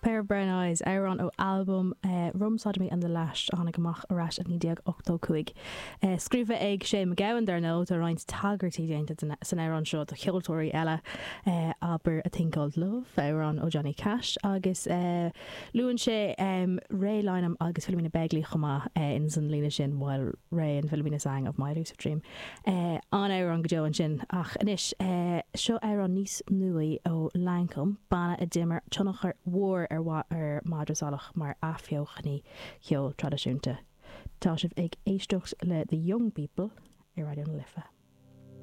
Pair of Brown Eyes, amhrán ó albam Rum Sodomy and the Lash a tháinig amach ar ais i 1985. Scríofa ag Shane MacGowan, dar ndóigh, tá roinnt tagairtí déanta san amhrán seo do cheoltóirí eile, abair A Thing Called Love, amhrán ó Johnny Cash, agus luann sé Ray Lynam agus Philomena Begley chomh maith ins an líne sin While Ray and Philomena sang of my elusive dream. An-amhrán go deo ansin. Ach anois, seo amhrán níos nuaí ó Lankum, banna a d'imir tionchar mhór ar Madra Salach mar athbheochanaí cheol traidisiúnta. Tá sibh ag éisteacht le The Young People ar Raidió na Life.